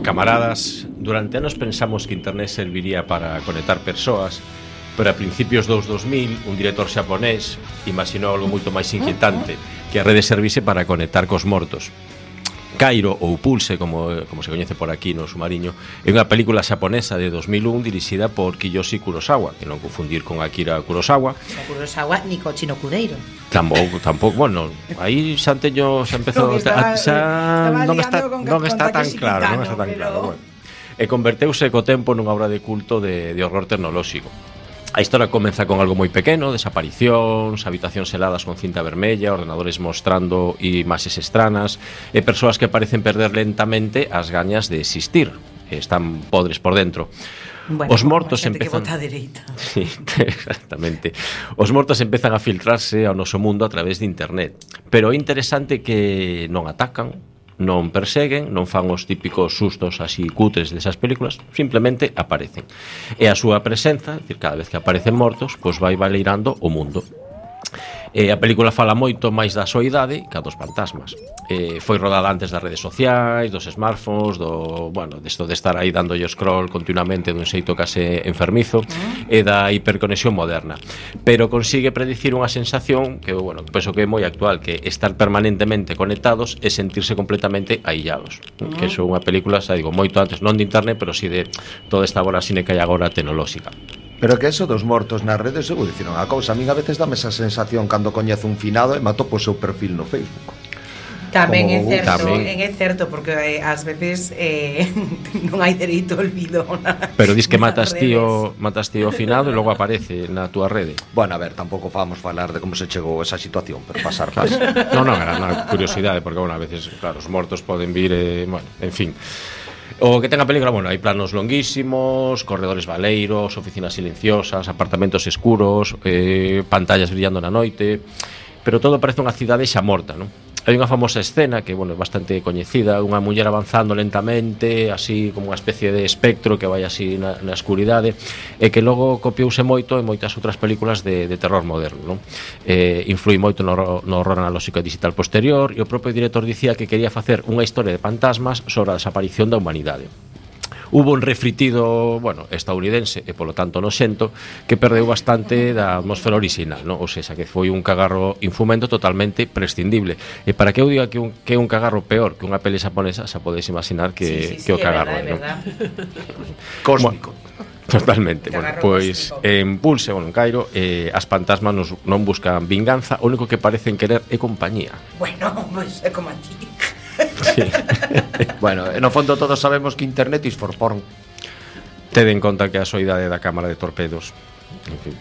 Camaradas, durante anos pensamos que internet serviría para conectar persoas, pero a principios dos 2000 un director xaponés imaginou algo moito máis inquietante, que a rede servise para conectar cos mortos. Cairo, ou Pulse, como se coñece por aquí no Sumariño, é unha película xaponesa de 2001 dirixida por Kiyoshi Kurosawa, que non confundir con Akira Kurosawa. No Kurosawa ni Cochino Cudeiro. Tampouco, bueno, aí xa empezou non está tan claro, bueno. E converteuse co tempo nunha obra de culto de horror tecnolóxico. A historia comeza con algo moi pequeno, desaparicións, habitacións heladas con cinta vermella, ordenadores mostrando imaxes estranas e persoas que parecen perder lentamente as gañas de existir, están podres por dentro. Bueno, os mortos empezan que vota a dereita. Sí, exactamente. Os mortos empezan a filtrarse ao noso mundo a través de internet, pero é interesante que non atacan, non perseguen, non fan os típicos sustos así cutres desas películas, simplemente aparecen. E a súa presenza, é dicir, cada vez que aparecen mortos, pois vai baleirando o mundo. A película fala moito máis da soidade que a dos fantasmas. Foi rodada antes das redes sociais, dos smartphones, desto de estar aí dándolle scroll continuamente dun xeito case enfermizo e da hiperconexión moderna. Pero consigue predicir unha sensación que, penso que é moi actual, que estar permanentemente conectados e sentirse completamente aillados. Que é unha película, xa digo, moito antes, non de internet, pero si de toda esta vorasine que hai agora tecnolóxica. Pero que eso dos mortos nas redes, eu dicir unha cousa, a min a veces dame esa sensación cando coñezo un finado e mato po seu perfil no Facebook. Tamén é certo, porque ás veces non hai dereito ao olvido. Pero dis que matas ti o finado e logo aparece na túa rede. Bueno, a ver, tampouco vamos falar de como se chegou esa situación, pero pasar. Non, era unha curiosidade, porque a veces, claro, os mortos poden vir, en fin. O que ten a película, hai planos longuísimos, corredores baleiros, oficinas silenciosas, apartamentos escuros, pantallas brillando na noite, pero todo parece unha cidade xa morta, non? Hai unha famosa escena que, é bastante coñecida, unha muller avanzando lentamente, así como unha especie de espectro que vai así na escuridade, e que logo copiouse moito en moitas outras películas de terror moderno, non? Influi moito no horror analóxico e digital posterior, e o propio director dicía que quería facer unha historia de fantasmas sobre a desaparición da humanidade. Hubo un refritido, estadounidense e polo tanto noxento, que perdeu bastante da atmosfera original, non? Ou seja, que foi un cagarro infumento totalmente prescindible. E para que eu diga que é un cagarro peor que unha peli xaponesa, xa podedes imaginar que o cagarro é, non? Cósmico. Totalmente. Pois en Pulse, en Cairo, as fantasmas non buscan vinganza, o único que parecen querer é compañía. Bueno, pois é como a ti. Sí. Bueno, no fondo todos sabemos que internet is for porn. Tede en conta que a soidade da cámara de torpedos, en fin.